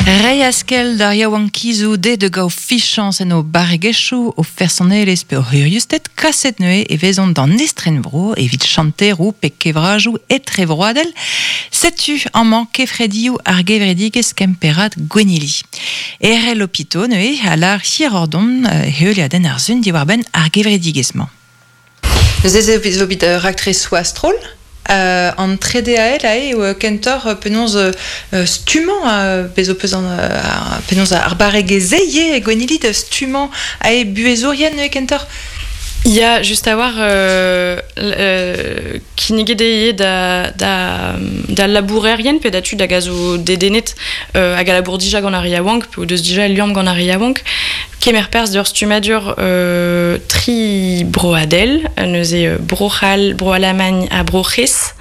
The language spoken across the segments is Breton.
Reiñ askell d'ar yaouankizoù dezhe da gaout fichañs en o barregezhioù, o fersonelezh pe o c'huriusted, kaset neuze e vezont d'an estrenvro evit chanteroù pe kevrajoù etrevroadel. Setu amañ kefredioù ar gevredigezh kemperad Gwennili. Erell Opito neuze a lâr hirordon heuliadenn ar sun diwar-benn ar gevredigezh-mañ. Neuze ez eo bet raktresoù a-stroll. An trede ael aze eo kentoc'h penaos stummañ, bez' ho peus an, penaos ar barregezh-se ivez, Gwennili, da stummañ aze buhezourien neuze kentoc'h? Ya, just a-walc'h kinniget eo ivez da, da, da labourerien pe da tud hag a zo dedennet hag a labour dija gant ar re yaouank pe o deus dija liamm gant ar re yaouank. Kemer perzh d'ur stummadur tri broadel, neuze Bro-C'hall, Bro-Alamagn ha Bro-C'hres,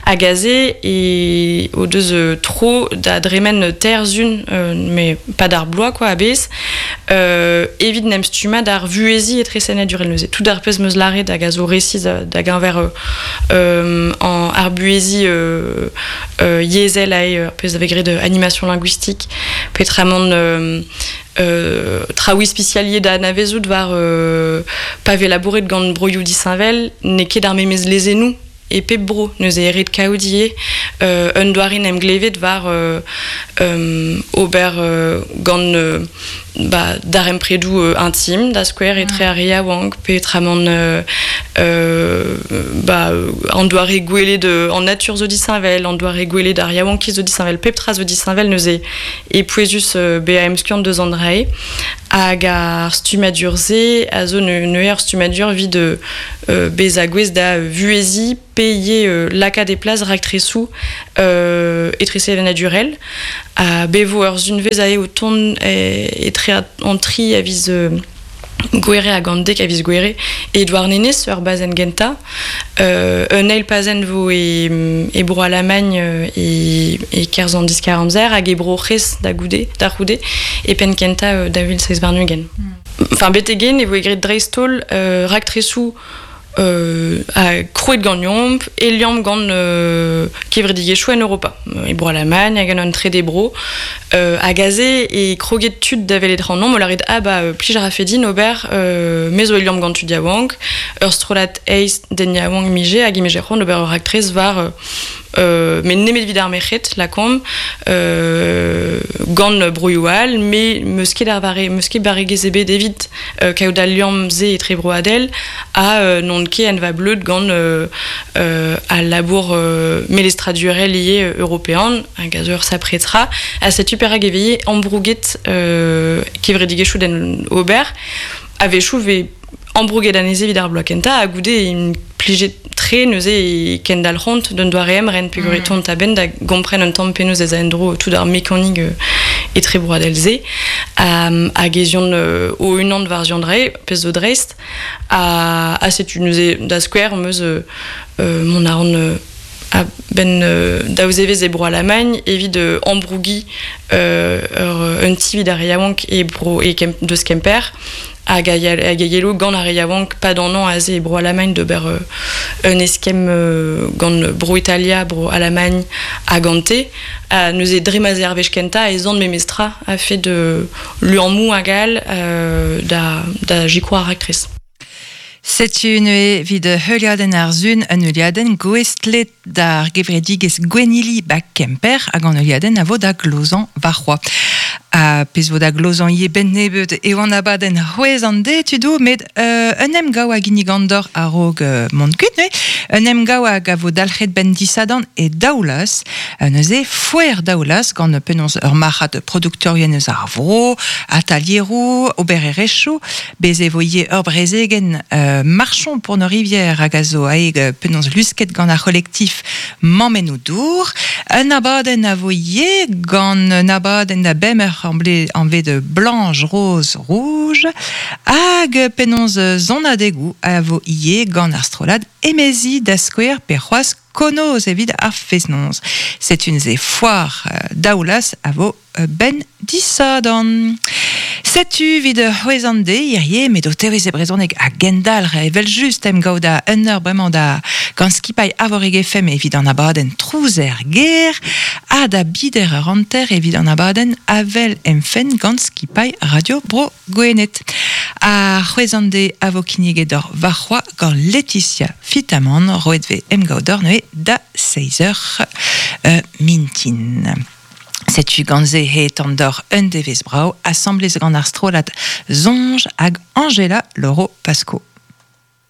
hag aze e o deus tro da dremen teir zun, mais pas d'ar bloaz quoi a-bezh, evit n'em stummañ d'ar vuheziñ etresenadurel neuze. Tout ar pezh 'm eus lâret hag a zo resis da geñver ar buheziñ yezhel ae, ar pezh a vez graet animation linguistique, petramant traoù ispisialiet da anavezout war pa vez labouret gant broioù disheñvel n'eo ket ar memes lezennoù e pep bro. Neuze eo ret kaout ivez un doare en em glevet war ober gant ba, darempredoù intim da skouer etre ar re yaouank peotramant ba, an doare gwelet an natur zo disheñvel, an doare gwelet ar yaouankiz zo disheñvel, pep tra zo disheñvel neuze e pouezus bezañ emskiant deus an dra-se hag ar stummadur-se a zo neuze ur stummadur evit bezañ gouest da vuheziñ pe ivez lakaat e plas raktresoù etresevenadurel ha bez 'vo ur sunvezh aze o tont etre an tri a viz Gouere hag an dek a viz Gouere e Douarnenez, ur bazenn gentañ. Un eil pazenn vo e, e Bro-Alamagn e, e-kerzh an diskar-amzer hag e Bro-C'hres da goude, da c'houde e penn kentañ 2027. Enfin, betek-hen e voe graet dreist-holl raktresoù ha krouet ganeomp e liamm gant kevredigezhioù en Europa, e Bro-Alamagn hag en un trede bro. Hag aze e kroget tud da welet ac'hanomp o lâret ah bah plij a rafe din ober me zo e liamm gant tud yaouank, ur strollad eizh den yaouank 'mije hag 'mije c'hoant ober ur raktres war met nemet evit ar merc'hed, lakaomp, gant broioù all, me 'meus ket ar vare, 'meus ket barregezh ebet evit kaout al liamm-se etrebroadel ha n'on ket en va bleud gant al labour melestradurel ivez european hag a zo ur sapre tra. Ha setu perak e vez ambrouget kevredigezhioù d'en ober. A-wechoù 'vez ambrouget anezhe evit ar bloaz kentañ ha goude int plijet tre neuze e kendalc'hont d'un doare emren peogwir e teuont a-benn da gompren un tamm penaos ez a en-dro tout ar mekanik etrebroadel-se hag ez eont o-unan war ziandrae pezh zo dreist ha setu neuze da skouer am eus mont a ran a-benn daou zevezh e Bro-Alamagn evit ambrougiñ un ti evit ar re yaouank e bro e deus Kemper hag a yelo gant ar re yaouank pad an hañv aze e Bro-Alamagn d'ober un eskemm gant Bro-Italia, Bro-Alamagn ha gante. Ha neuze dre ma 'z eo ar wech kentañ ez an memestra a-fet liammoù hag all da sikour ar raktres. Setu neuze evit heuliadenn ar Sun un heuliadenn gouestlet d'ar gevredigezh Gwennili ba Kemper hag an heuliadenn a vo da glozañ warc'hoazh. Ha pezh vo da glozañ ivez benn nebeut eo an abadenn c'hwezh an deiz tudoù met un emgav a ginnigan deoc'h a-raok mont kuit neuze. Un emgav hag a vo dalc'het benn disadorn e Daoulaz. Neuze foer Daoulaz gant penaos ur marc'had produktorien eus ar vro, atalieroù, obererezhioù. Bez' e vo ivez ur brezegenn Marchons pour nos rivières hag a zo aet penaos lusket gant ar c'holektif Mammennoù dour. Un abadenn a vo ivez gant un abadenn da bemp eur anvet Blanche Rose Rouge hag penaos sonadegoù a vo ivez gant ar strollad Emezi da skouer pe c'hoazh Konoz evit ar fest-noz. Setu neuze foar Daoulaz a vo benn disadorn. Setu vid c'hwezan de hirie, met o tevez e brezhoneg a gendalc'h evel just em gaout da un eur bremañ da gant skipailh Arvorig FM evit an abadenn Trouzer ger ha da bider ur hanter evit an abadenn Avel em fenn gant skipailh Radio Bro Gwened. Ha c'hwezan de a vo kinniget d'or varc'hoa gant Laetitia Fitamant roet ve em gaout d'or neuze da 6 eur mintin. Setu gant se he d'or un devez brao, assemblez gant ar strollad Zonj hag Angela Loro Pasco.